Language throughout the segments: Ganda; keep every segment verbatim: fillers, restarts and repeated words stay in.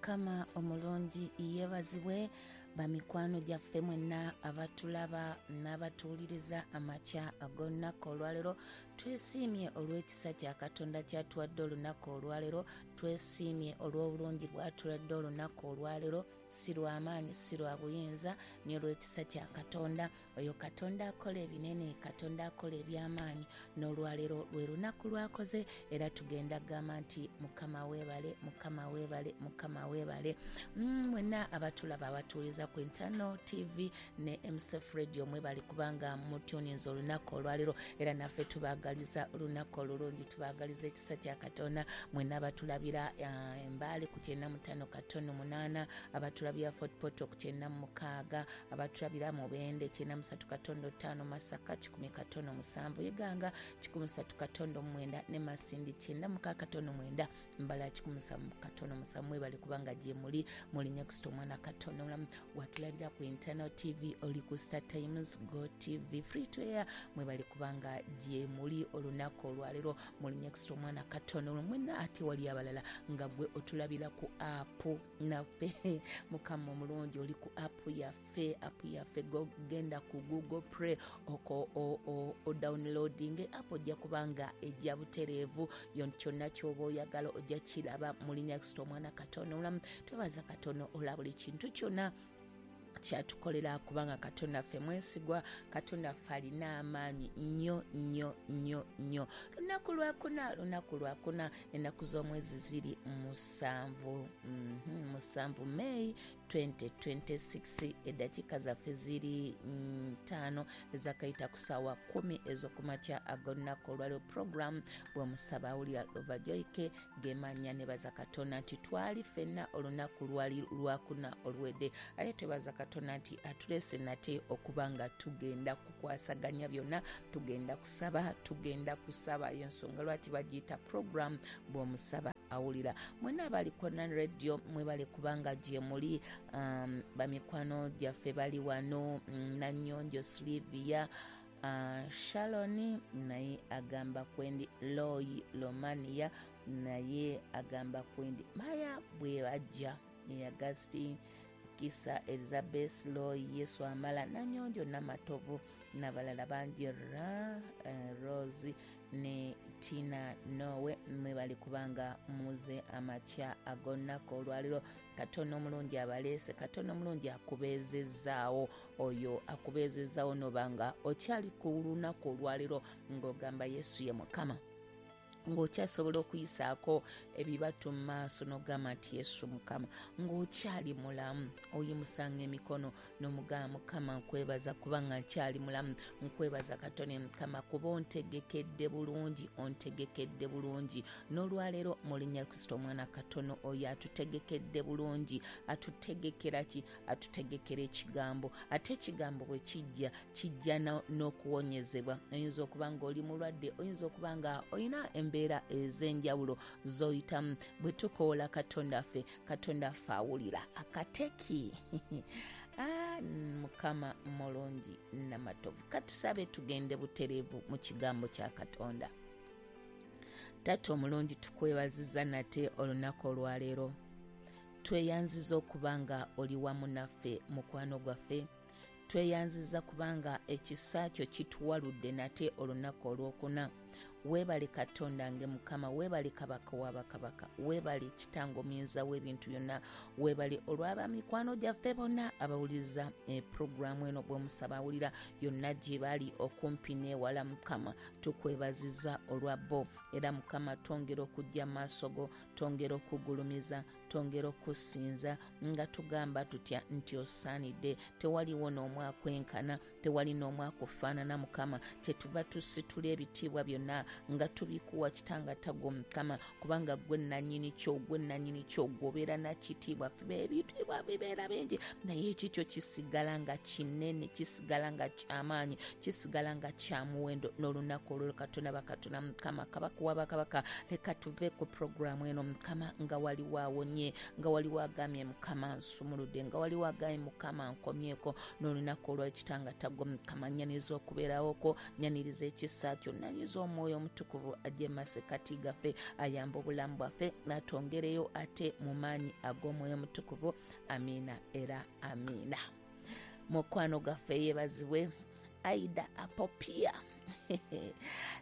Mukama omulungi yeebazibwe. Bamikwano gyaffe mwenna abatulaba n'abatuwuliriza amakya ag'olunaku olwaleero, twesiimye olw'ekisa kya Katonda kyatuwadde olunaku olwaleero, twesiimye olw'obulungi bw'atuladde olunaku olwaleero, si lw'amaanyi si lwa buyinza, ni olw'ekisa kya Katonda. Oyo Katonda akola ebinene, Katonda akola eby'amaanyi, n'olwaleero lwe lunaku lwakoze, era tugenda gamba nti Mukama weebale, Mukama weebale, Mukama weebale. Mwenna abatulaba abatuwuliriza ku Internal T V ne M C F Radio mwebale kubanga mutuninze olunaku olwaleero, era naffe tubaagaliza olunaku olulungi, tubaagaliza ekisa kya Katonda. Mwenna abatulabira Embaale ku kyenda mu ttaano katono munaana, abatulabira Fort Portal ku kyenda mu mukaaga, abatulabira Mubende kyenda mu ssatu katono ttaano, Masaka kikumi katono musanvu, Iganga kikumi ssatu katono mwenda, ne Masindi kyenda mukaaga katono mwenda, Mbala kikumi musanvu katono musanvu. Mwebale kubanga gye muli muli next omwana katono mulamu. Watulabira ku Internal T V, oli ku Star Times, Go T V, Free to Air, mwebale kubanga gye muli olunaku olwaleero muli next omwana katono mwenna. Ate wali abalala nga gwe otulabira ku app naffe, Mukama omulungi oli ku app yaffe, app yaffe genda ku Google Play oko o, o downloading app, ojja kubanga ejja butereevu kyonna ky'oba oyagala ojja kiraba muli next omwana katono mulamu. Twebaza Katonda olwa buli kintu kyonna kyatukolera, kubanga Katonda ffe mwesigwa, Katonda ffe alina amaanyi nnyo nnyo nnyo nnyo. Lunaku lwakuna, lunaku lwakuna, ennaku z'omwezi ziri musanvu, mm-hmm, musanvu May twenty twenty-six, eddakiika zaffe ziri ttaano ezakayita ku ssaawa kkumi ez'okumakya ag'olunaku olwaleero. Program bw'omusaba awulira Lova Joyke gemanya. Nebaza Katonda nti twali ffenna olunaku lwali lwakuna oluwedde, ate twebaza Katonda nti atulese nate okuba nga tugenda kukwasaganya byonna, tugenda kusaba, tugenda kusaba. Y'ensonga lwaki bagiyita program bw'omusaba awulira. Mwenna abaliko na radio mwebale kubanga gye muli. Um, bamikwano gyaffe bali wano, Nanyonjo Silvia, uh, Shaloni naye agamba kwendi, Loyi Romania naye agamba kwendi, Maya bwe bajja ne Agasti Kisa Elizabeth Loyi Yesu Amala Nanyonjo Namatovu n'abalala bangi, ra uh, Rose ne Tina Nowe, mwebale kubanga muze amakya ag'olunaku olwaleero. Katonda omulungi abaleese, Katonda omulungi akubeezezzaawo, oyo akubeezezzaawo nobanga okyali ku lunaku olwaleero ng'ogamba Yesu ye Mukama, ng'okyasobola okuyisaako ebibatu mu maaso n'ogamba nti Yesu Mukama, ng'okyali mulamu oyimusanga emikono n'omugamba Mukama nkwebaza kubanga nkyali mulamu, nkwebaza Katonda Mukama kuba ontegekedde bulungi, ontegekedde bulungi. N'olwaleero mu linnya Kristo omwana katono oyo atutegekedde bulungi. Atutegekera ki? Atutegekera ekigambo, ate ekigambo bwe kijja kijja n'okuwonyezebwa. Oyinza okuba ng'oli mulwadde, oyinza okuba nga olina embeera ez'enjawulo z'oyitamu. Bwe tukoola Katonda ffe, Katonda ffe awulira akateki. Ah, Mukama mulungi namatovu. Katusabe tugende butereevu mu kigambo kya Katonda. Taata omulungi, tukwebaziza nate olunaku olwaleero. Tweyanziza okuba nga oli wamu naffe mukwano gwaffe, tweyanziza kubanga ekisa kyo kituwaludde nate olunaku olwokuna. Weebale Katonda nge Mukama, weebale Kabaka w'abakabaka, weebale Kitange omuyinza w'ebintu byonna, weebale olw'abamikwano gyaffe bonna abawuliriza puroguramu eno bw'omusaba awulira yonna gye bali okumpi n'ewala. Mukama tukwebaziza olwa bo, era Mukama twongera okujja maaso go, twongera okugulumiza, twongera okusinza nga tugamba tutya nti osaanidde. Tewaliwo n'omu akwenkana, tewali n'omu akufaanana Mukama. Kyetuva tusitula ebitiibwa byonna nga tubikuwa Kitanga tagwo Mukama, kubanga gwe nannyini kyo, gwe nannyini kyo, gw'obeera nakitiibwa. Ffe ebitiibwa bibeera bingi, naye ekikyo kisigala nga kinene, kisigala nga kyamaanyi, kisigala nga kya muwendo. N'olunaku olwo Katonda bakatonda Mukama, Kabaka w'abakabaka, leka tuve ku puroguramu eno Mukama nga waliwo awonye, nga waliwo agambye Mukama nsumuludde, nga waliwo agambye Mukama nkomyeko. N'olunaku olw'Ekitanga tagwo Mukama, nyaniriza okubeerawoko, nyaniriza ekisa kyo, nyaniriza omwoyo Omutukuvu ajje mu masekkati gaffe, ayambe obulamu bwaffe, atwongereyo ate mu maanyi ag'Omwoyo Omutukuvu. Amiina era amiina. Mukwano gaffe yeebazibwe Aida Apopia.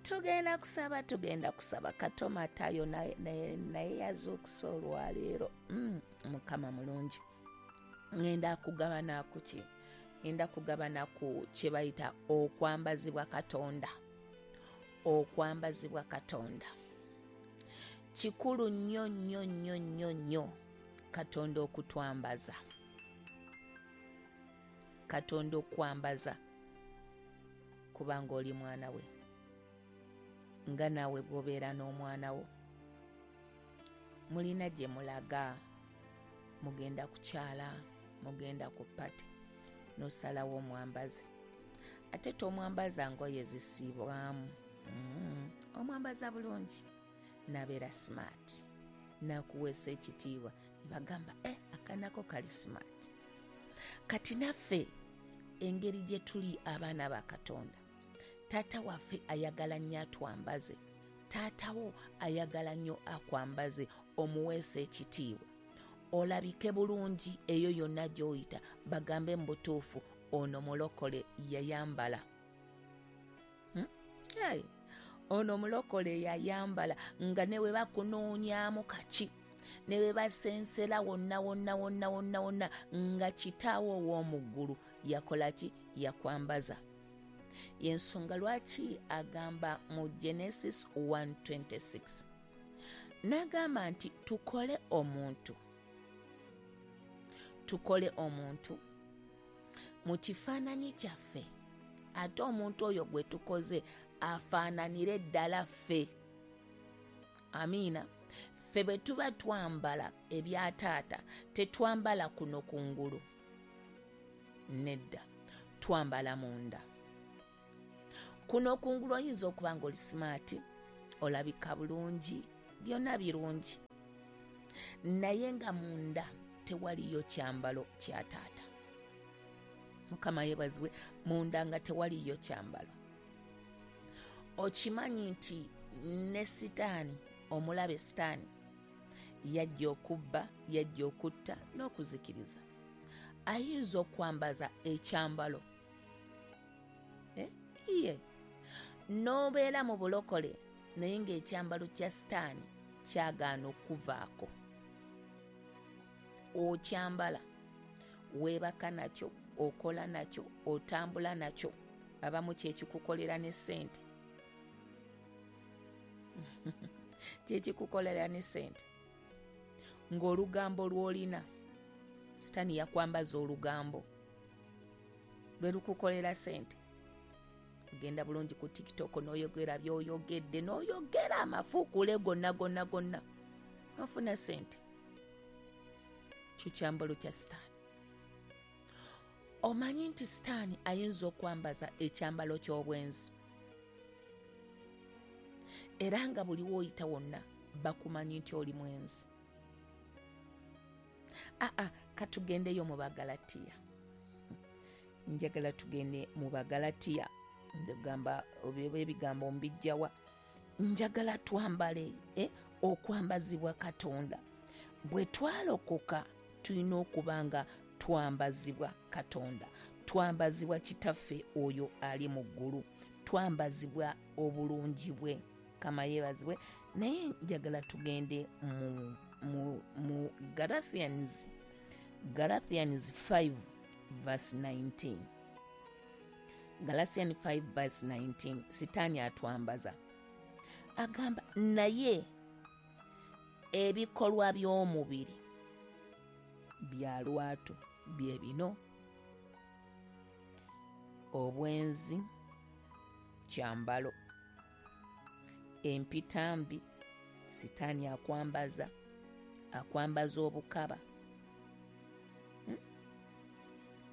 Tugenda kusaba, tugenda kusaba. Katomatayo naye yazuukusa olwaleero. Mm, Mukama mulungi. Ngenda kugabana ku ki? Ngenda kugabana ku kye bayita okwambazibwa Katonda. Okwambazibwa Katonda kikulu nnyo nnyo nnyo nnyo nnyo, Katonda okutwambaza, Katonda okwambaza, kubanga oli mwana we, nga naawe bw'obeera n'omwana wo mulina gye mulaga, mugenda kukyala, mugenda ku party, n'osalawo omwambaze. Ate tomwambaza ngoye zisiibwamu, mm, omwambaza bulungi n'abeera smart, n'akuweesa ekitiibwa, bagamba eh, akanako kali smart. Kati naffe engeri gye tuli abaana ba Katonda, taata waffe ayagala nnyo atwambaze, taatawo ayagala nnyo akwambaze, omuweesa ekitiibwa, olabike bulungi eyo yonna gy'oyita, bagambe mu butuufu ono mulokole yayambala. Hmm? Hey. Ono mulokole yayambala, nga ne bwe bakunoonyaamu kaki, ne bwe basensera wonna wonna wonna wonna wonna, nga kitaawo ow'omu ggulu yakola ki? Yakwambaza. Yensonga lwaki agamba mu Genesis one twenty-six n'agamba nti tukole omuntu, tukole omuntu mu kifaananyi kyaffe, ate omuntu oyo gwe tukoze afaananire ddala ffe. Amiina. Ffe bwe tuba twambala ebya taata, tetwambala kuno kungulu, nedda, twambala munda. Kuno kungulu oyinza okuba ng'oli smart, olabika bulungi, byonna birungi, naye nga munda tewaliyo kyambalo kya taata. Mukama yeebazibwe, munda nga tewaliyo kyambalo. Okimanyi nti ne Sitaani, omulabe Sitaani, yajja okubba, yajja okutta n'okuzikiriza. Ayinza okwambaza ekyambalo eh? Iye n'obeera mu bulokole, naye ng'ekyambalo kya Sitaani kyagaana okuvaako. Okyambala, weebaka nakyo, okola nakyo, otambula nakyo, abamu kyekikukolera ne ssente kyekikukolera ne ssente, ng'olugambo lw'olina, Sitaani yakwambaza olugambo lwe lukukolera ssente. Ogenda bulungi ku TikTok n'oyogera by'oyogedde, n'oyogera amafuukule gonna gonna gonna, n'ofuna ssente. Kyo kyambalo kya Sitaani. Omanyi nti Sitaani ayinza okwambaza ekyambalo ky'obwenzi, era nga buli w'oyita wonna bakumanyi nti oli mwenzi. Aa, katugendeyo mu Bagalatiya. Njagala tugende mu Bagalatiya. Ngamba ebigambo mbijjawa. Njagala twambale eh, okwambazibwa Katonda. Bwe twalokoka tulina okuba nga twambazibwa Katonda, twambazibwa Kitaffe oyo ali mu ggulu, twambazibwa obulungi bwe. Mukama yeebazibwe. Naye njagala tugende mu, mu, mu Galatians, Galatians five verse nineteen. Galatians five verse nineteen. Sitaani atwambaza, agamba naye ebikolwa by'omubiri bya lwatu bye bino: obwenzi, kyambalo, empitambi. Sitaani akwambaza, akwambaza obukaba, hmm?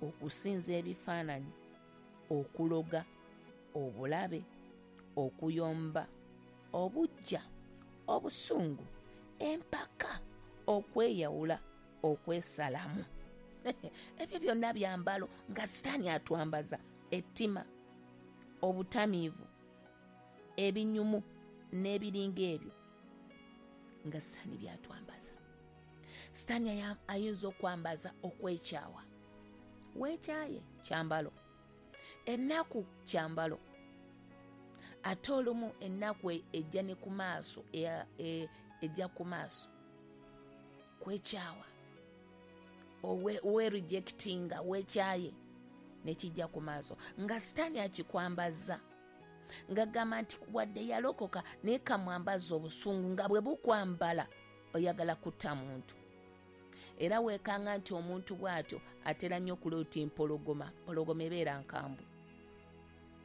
Okusinza ebifaananyi, okuloga, obulabe, okuyomba, obujja, obusungu, empaka, okweyawula, okwesalamu. Ebyo byonna byambalo nga Sitaani atwambaza. Ettima, obutamiivu, ebinyumu, n'ebiringa ebyo nga Sitaani byatwambaza. Sitaani ayinza okwambaza okwekyawa. Weekyaye kyambalo, ennaku kyambalo, ate olumu ennaku ejja ne ku maaso, ejja ku maaso kwekyawa, owe rejectinga, weekyaye nekijja ku maaso nga Sitaani akikwambaza, nga gamba nti wadde yalokoka naye kamwambaza obusungu nga bwe bukwambala oyagala kutta muntu. Era weekanga nti omuntu bw'atyo atera nnyo okuloota empologoma, empologoma ebeera nkambwe,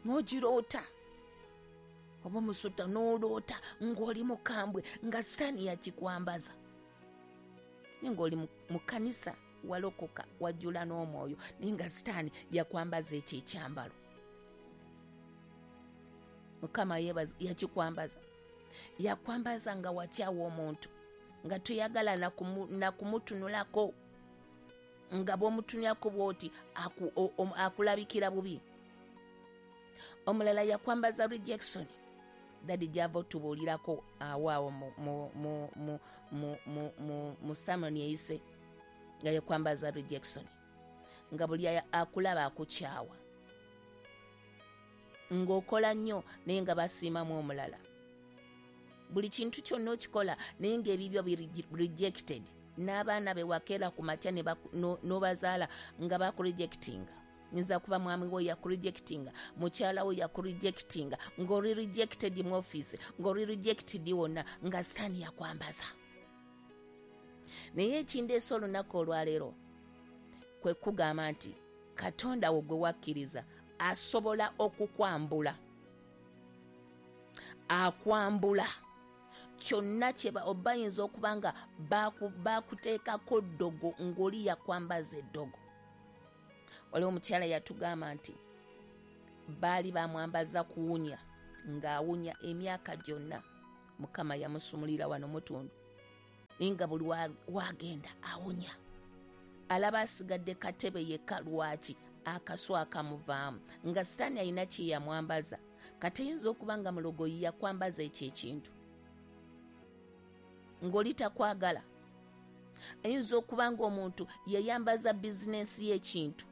n'ogiroota oba omusota n'oloota ng'oli mukambwe nga Sitaani yakikwambaza. Naye ng'oli mu kkanisa walokoka wajjula n'omwoyo, naye nga Sitaani yakwambaza ekyo ekyambalo. Mukama yeebaza, yakikwambaza, yakwambaza nga wakyawa omuntu, nga toyagala na kumutunulako, nga bw'omutunulako bw'oti akulabikira bubi. Omulala yakwambaza rejection, dadi gy'ava otubuulirako awo awo mu sermon eyise, nga yakwambaza rejection, nga buli akulaba akukyawa, ng'okola nnyo naye nga basiimamu omulala. Buli kintu kyonna okikola naye ng'ebibyo biri rejected, n'abaana be wakeera ku makya n'obazaala nga bakurejectinga. Nyinza kuba mwami wo yakurejectinga, mukyala wo yakurejectinga, ng'oli rejected mu office, ng'oli rejected wonna, nga Sitaani yakwambaza. Naye ekindeesa olunaku olwaleero kwe kugamba nti Katonda wo gwe wakkiriza asobola okukwambula, akwambula kyonna kye bayinza okuba nga bakuteekako ddogo ng'oli yakwambaza eddogo. Waliwo omukyala yatugamba nti baali bamwambaza kuwunya, ng'awunya emyaka gyonna. Mukama yamusumulira wano mutundu, naye nga buli wagenda awunya, alaba asigadde katebe yekka. Lwaki? Akasu akamuvaamu, nga Sitaani alina kye yamwambaza. Kati eyinza okuba nga mulogoyi yakwambaza ekyo ekintu, ng'oli takwagala. Ayinza okuba ng'omuntu yayambaza bizinensi y'ekintu,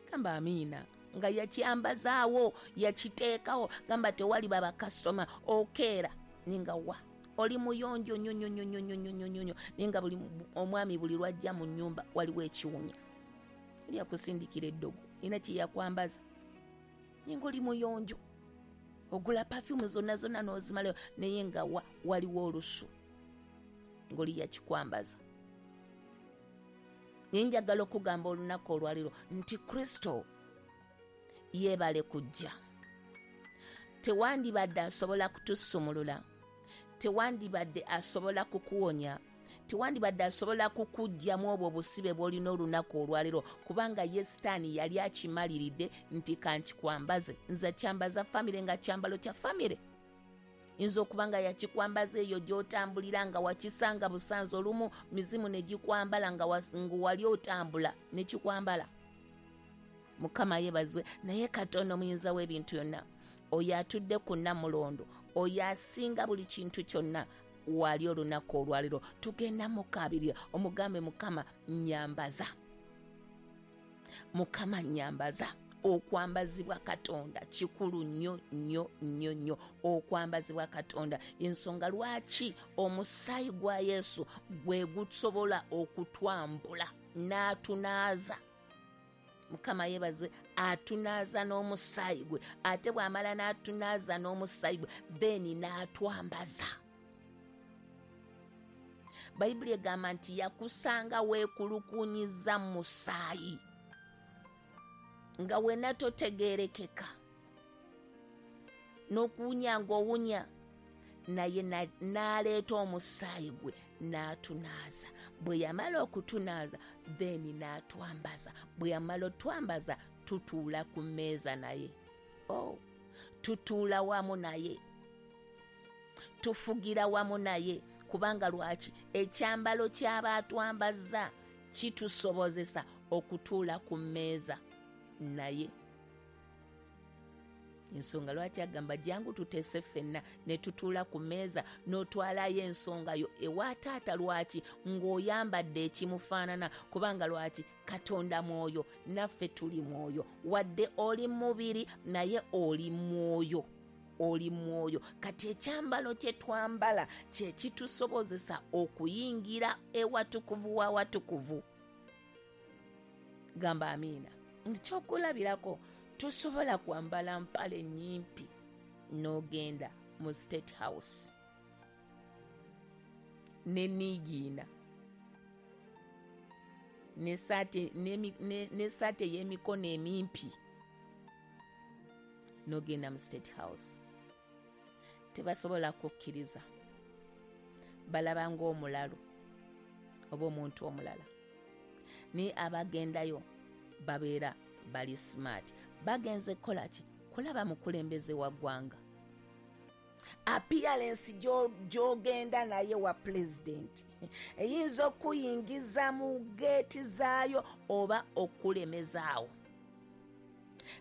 gamba amiina, nga yakyambazaawo, yakiteekawo, gamba tewali baba kasitoma, okeera ninga wa oli muyonjo nnyo nnyo nnyo nnyo nnyo nnyo nnyo, naye nga buli omwami buli lwajja mu nnyumba waliwo ekiwunya, oli akusindikira eddogo, nina kye yakwambaza, naye ng'oli muyonjo, ogula perfume zonna zonna n'ozimalayo, naye nga wa waliwo olusu ng'oli yakikwambaza. Naye njagala okugamba olunaku olwaleero nti Kristo yeebale kujja. Tewandibadde asobola kutusumulula, tewandibadde asobola kukuwonya, tewandibadde asobola kukuggyamu obwo obusibe bw'olina olunaku olwaleero, kubanga ye Sitaani yali akimaliridde nti kankikwambaze, nze kyambaza famire nga kyambalo kya famire. Yinza okuba nga yakikwambaza eyo gy'otambulira nga wakisanga busanze, olumu mizimu ne gikwambala nga wali otambula ne kikwambala. Mukama yeebazibwe. Naye Katonda omuyinza w'ebintu byonna, oyo atudde ku nnamulondo, oyo asinga buli kintu kyonna, wali olunaku olwaleero tugenda mukaabirira, omugambe Mukama nnyambaza, Mukama nnyambaza. Okwambazibwa Katonda kikulu nnyo nnyo nnyo nnyo. Okwambazibwa Katonda, ensonga lwaki omusaayi gwa Yesu gwe gusobola okutwambula n'atunaaza. Mukama yeebazibwe, atunaaza n'omusaayi gwe, ate bw'amala n'atunaaza n'omusaayi gwe then n'atwambaza. Bayibuli egamba nti yakusanga weekulukunyiza mu musaayi, nga wena totegeerekeka, n'okuwunya ng'owunya, naye n'aleeta omusaayi gwe n'atunaaza. Bwe yamala okutunaaza then n'atwambaza. Bwe yamala otwambaza tutuula ku mmeeza naye, oh, tutuula wamu naye, tufugira wamu naye. Kubanga lwaki? Ekyambalo ky'aba atwambaza kitusobozesa okutuula ku mmeeza naye. Ensonga lwaki agamba jangu tuteese ffenna ne tutuula ku mmeeza n'otwalayo ensonga yo ewa taata. Lwaki? Ng'oyambadde ekimufaanana, kubanga lwaki? Katonda mwoyo, naffe tuli mwoyo. Wadde oli mubiri naye oli mwoyo, oli mwoyo. Kati ekyambalo kye twambala kye kitusobozesa okuyingira ewatukuvu w'awatukuvu. Gamba amiina. Ekyokulabirako, tosobola kwambala mpale nnyimpi n'ogenda mu State House ne niigiina n'essaati ey'emikono emimpi n'ogenda mu State House. Tebasobola kukkiriza, balaba ng'omulalu oba omuntu omulala. Naye abagendayo babeera bali smart. Bagenze kukola ki? Kulaba mukulembeze wa ggwanga. Appearance gy'ogenda naye wa pulezidenti eyinza okuyingiza mu geeti zaayo oba okulemezaawo.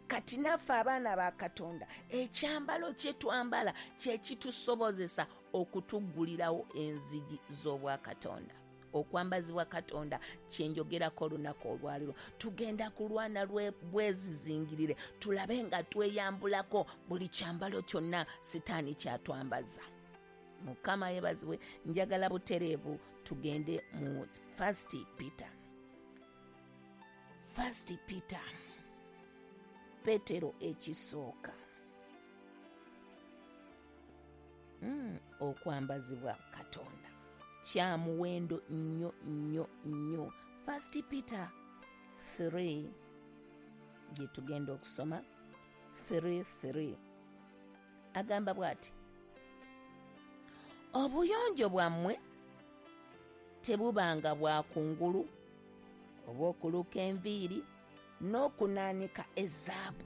Kati naffe abaana ba Katonda, ekyambalo kye twambala kye kitusobozesa okutuggulirawo enzigi z'obwakatonda. Okwambazibwa Katonda kyenjogerako olunaku olwaleero. Tugenda kulwana bwezizingirire, tulabe nga tweyambulako buli kyambalo kyonna Sitaani kyatwambaza. Mukama yeebazibwe. Njagala butereevu tugende mu First Peter. First Peter, Petero ekisooka. Mm, okwambazibwa Katonda kya muwendo nnyo nnyo nnyo. First Peter three gye tugenda okusoma three three agamba bw'ati: obuyonjo bwammwe tebubanga bwa kungulu oba okuluka enviiri n'okunaanika ezaabu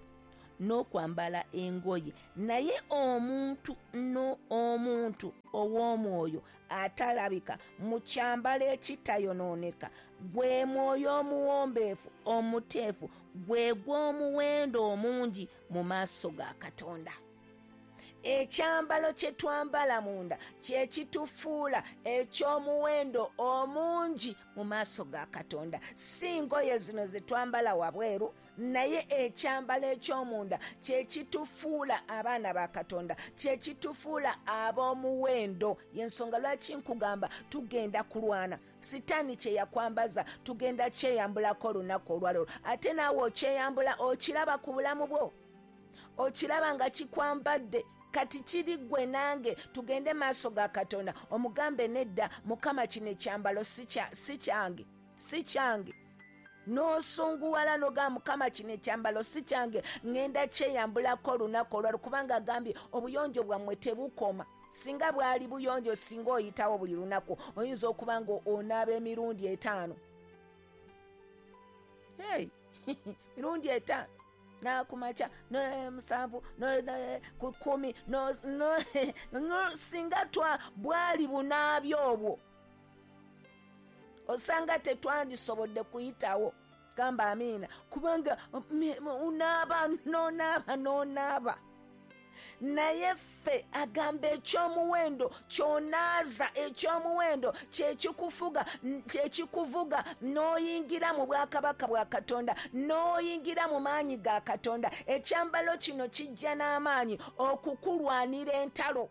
n'okwambala engoye, naye omuntu no omuntu ow'omwoyo atalabika mu kyambalo ekitayonooneka, gwe mwoyo omuwombeefu omuteefu, gwe gw'omuwendo omungi mu maaso ga Katonda. Ekyambalo kye twambala munda kye kitufuula eky'omuwendo omungi mu maaso ga Katonda. Si ngoye zino ze twambala wabweru, naye ekyambalo eky'omunda kye kitufuula abaana ba Katonda, kye kitufuula ab'omuwendo. Y'ensonga lwaki nkugamba tugenda kulwana. Sitaani kye yakwambaza tugenda kyeyambulako olunaku olwaleero. Ate naawe okyeyambula, okiraba ku bulamu bwo, okiraba nga kikwambadde. Kati kiri ggwe nange tugende maaso ga Katonda omugambe nedda, Mukama kino ekyambalo si kyange, si kyange. N'osunguwala n'ogamba Mukama kino ekyambalo si kyange, ŋŋenda kyeyambulako olunaku olwaleero, kubanga agambye obuyonjo bwammwe tebukoma. Singa bwali buyonjo, singa oyitawo buli lunaku, oyinza okuba nga onaaba emirundi etaano. Hey, mirundi etaano nakumakya musanvu ku kkumi, singa twa bwali bunaabyo obwo osanga tetwandisobodde kuyitawo. Gamba amiina, kubanga unaaba n'onaaba n'onaaba. Naye ffe agamba eky'omuwendo ky'onaaza, eky'omuwendo kyekikufuga, kyekikuvuga n'oyingira mu bwakabaka bwa Katonda, n'oyingira mu maanyi ga Katonda. Ekyambalo kino kijja n'amaanyi okukulwanira entalo.